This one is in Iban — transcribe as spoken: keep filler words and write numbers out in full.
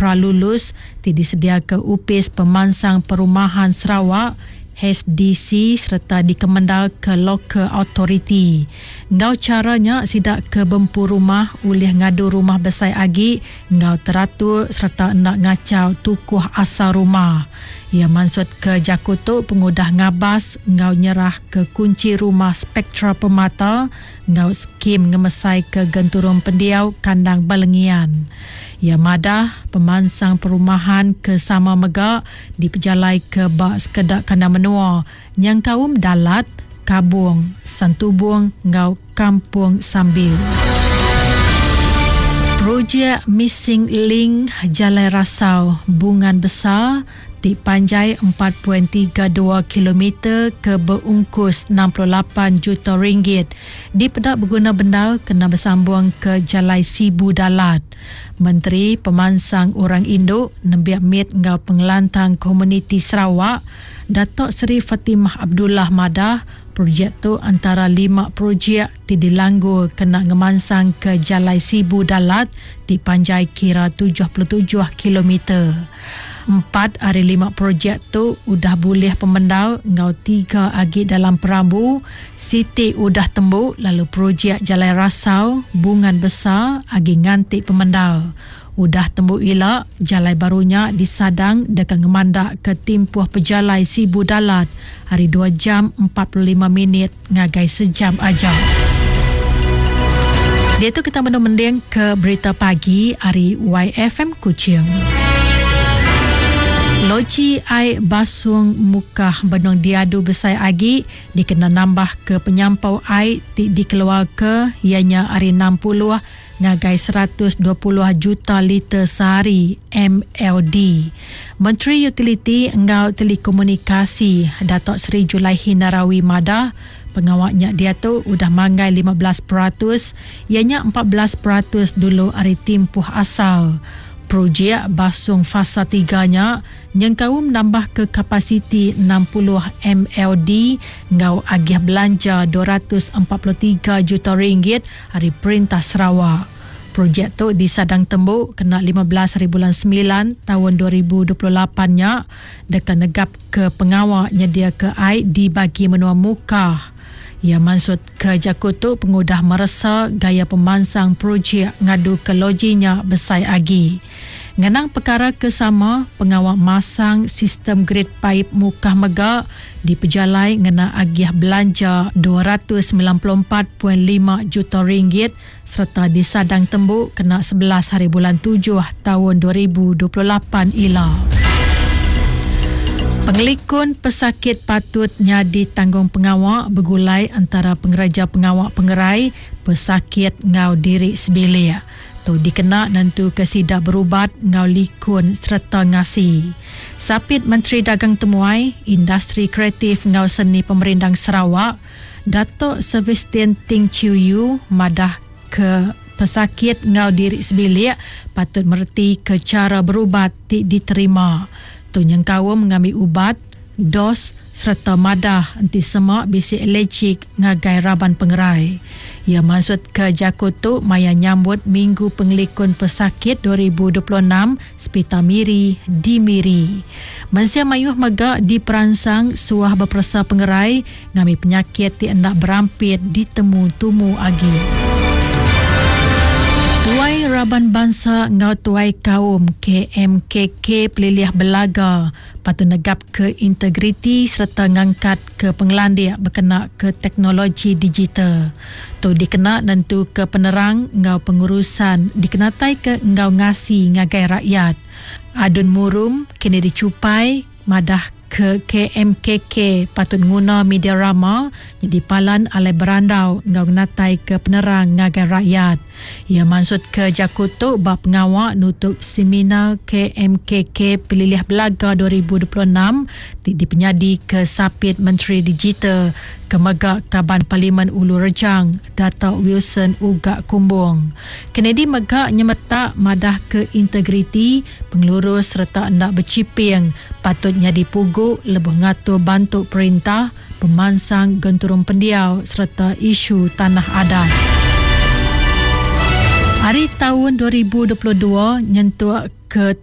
pralulus ti disediaka Opis Pemansang Perumahan Sarawak, H D C, sereta dikemendarka Local Authority. Enggau cara nya sida ke bempu rumah ulih ngadu rumah besai agi enggau teratur sereta enda ngacau tukuh asal rumah. Ia maksud ke jaku tu pengudah ngabas enggau nyerah ke kunci rumah Spektra Permata enggau skim ngemesai ke genturung pendiau kandang Balengian. Ia madah pemansang perumahan ke sama mega dipejalai ke bak sekedak kandang menua nyangkaum Dalat, Kabung, Santubong enggau Kampung Sambil. Projek Missing Link Jalai Rasau Bungan Besar ti panjai empat perpuluhan tiga dua kilometer ke berungkus enam puluh lapan juta ringgit dipedak berguna bendar kena bersambung ke Jalai Sibu Dalat. Menteri Pemansang Orang Induk Nembiak Mit enggau Pengelantang Komuniti Sarawak, Datuk Seri Fatimah Abdullah madah projek tu antara lima projek ti dilanggur kena ngemansang ke Jalai Sibu Dalat ti panjai kira tujuh puluh tujuh kilometer. Empat hari lima projek tu udah boleh pemendar ngau tiga agi dalam perambu, siti udah tembuk lalu projek Jalai Rasau Bungan Besar agi nganti pemendar. Udah tembuk ila, jalai barunya disadang dekat ngemandak ke timpuh pejalai Sibu Dalat hari dua jam empat puluh lima minit ngagai sejam aja. Dia tu kita mending ke berita pagi hari Y F M Kuching. Loji air basung Mukah benung diadu besai agi dikena nambah ke penyampau air ti dikeluar ke ianya hari enam puluh ngagai seratus dua puluh juta liter sehari M L D. Menteri Utiliti enggau Telekomunikasi Datuk Seri Julaihi Narawi madah pengawaknya dia tu udah manggai lima belas peratus ianya empat belas peratus dulu hari timpuh asal. Projek basung fasa tiga nya nyengkaum nambah ke kapasiti enam puluh M L D ngau agih belanja dua ratus empat puluh tiga juta ringgit hari Perintah Sarawak. Projek tu disadang tembuk kena lima belas hari bulan sembilan tahun dua ribu dua puluh lapan nya dekat negap ke pengawak nyedia ke air di bagi menua Mukah. Ia maksud ke jaku tu pengudah meresa gaya pemansang projek ngadu ke lojinya besai agi. Ngenang perkara kesama, pengawak masang sistem grid paip Mukah mega dipejalai ngena agih belanja dua ratus sembilan puluh empat perpuluhan lima juta ringgit serta disadang tembuk kena sebelas hari bulan tujuh tahun dua ribu dua puluh lapan ila. Pengelikun pesakit patut nyadi tanggung pengawak bergulai antara pengereja pengawak pengerai pesakit ngau diri sebilik. Tu dikena nentu ke sidak berubat ngau likun serta ngasi. Sapit Menteri Dagang Temuai, Industri Kreatif ngau Seni Pemerindang Sarawak, Datuk Sebastian Ting Chiu Yu madah ke pesakit ngau diri sebilik patut mereti ke cara berubat ti diterima. Tu nyengkaum mengambil ubat, dos serta madah enti semak bisi alergik ngagai raban pengerai. Ia maksud ke jaku tu maya nyambut Minggu Pengelikun Pesakit dua ribu dua puluh enam Sepita Miri di Miri. Mensia mayuh mega diperansang suah berperesa pengerai ngambil penyakit ti hendak berampit ditemu tumu agi. Tuai Raban Bansa ngau Tuai Kaum K M K K Pelilih Belaga patut negap ke integriti serta ngangkat ke pengelandik berkena ke teknologi digital. Tu dikena nentu ke penerang ngau pengurusan dikenatai ke ngau ngasi ngagai rakyat. Adun Murum kini dicupai madah ke K M K K patut nguna media rama jadi palan alai berandau ngau natai ke penerang ngagai rakyat. Ia maksud ke jaku tu bab pengawak nutup seminar K M K K Pelilih Belaga dua ribu dua puluh enam ti dipenyadi ke Sapit Menteri Digital Kemega Kaban Parlimen Ulu Rejang Datuk Wilson Ugak Kumbong. Kennedy mega nyemetak madah ke integriti pengelurus serta hendak berciping patutnya dipugu lebuh ngatur bantu perintah pemansang genturung pendiau serta isu tanah adat. Hari tahun dua ribu dua puluh dua nyentuk ke tahun